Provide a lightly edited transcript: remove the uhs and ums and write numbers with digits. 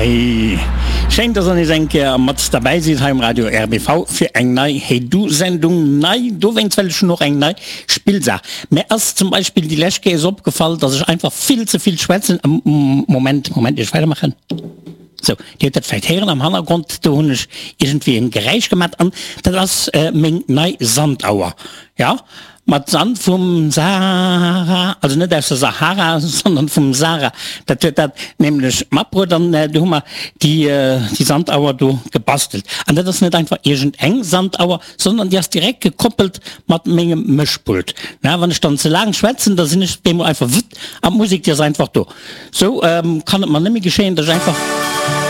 Hey! Schéin, dass der nees eng Kéier mat derbäi sidd hei um Radio RBV fir eng nei Hey Du Sendung. Nei dowéinst, well ech hunn och eng nei Spillsaach. Mär ass zum Beispill déi lescht Kéiers opgefall, dass ech einfach vill ze vill schwätzen. Moment, Moment, ier ech weidermaachen. Sou, Dir hutt dat vläicht héieren am Hannergrond, do hunn ech iergendwéi en Geräisch gemat an dat ass meng nei Sandauer. Jo, mat Sand vum Sahara, also net aus der Sahara, sondern vum Sahara. Dat huet dat nämlech matbruet an du hu mer déi déi Sandauer do gebastelt. An dat ass net einfach iergend eng Sandauer, sondern déi ass direkt gekoppelt mat mengem Mëschpult. Na, wann ech dann ze laang schwätzen, da sinn ech op eemol einfach wutt an d'Musek déi ass einfach do. Sou kann et mer net méi geschéien, dass ech einfach.